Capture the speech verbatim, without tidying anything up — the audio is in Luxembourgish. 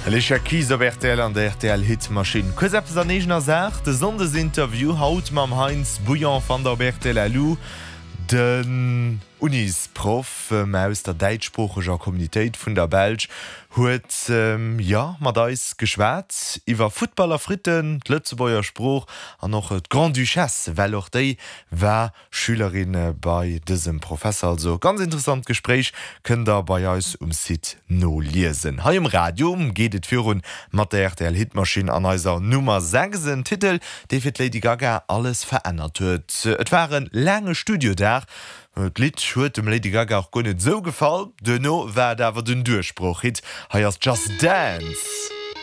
Alicia Keys op rtl an der rtl Hitmaschinn. Kuerz eppes an eegener Saach, de Sonndesinterview haut mam Heinz Bouillon fannt der op rtl. Den Unisproff aus der däitschsproocheger Communitéit vun der Belsch huet jo mat eis geschwat iwwer Futtball a Fritten, d'Lëtzebuerger Sprooch an och d'Grande-Duchesse, well och déi war Schülerin bei dësem Professer. Also ganz interessant Gespréich, kënnt der bei eis um Site noliesen. Hei um Radio geet et virun mat der rtl Hitmaschinn an eiser Nummer sechs, en Titel, dee fir d'Lady Gaga alles verännert huet. Et war e laange Studiodag, d'Lidd huet dem Lady Gaga och guer net esou gefall, duerno war et awer den Duerchbroch-Hit. Hei ass Just Dance.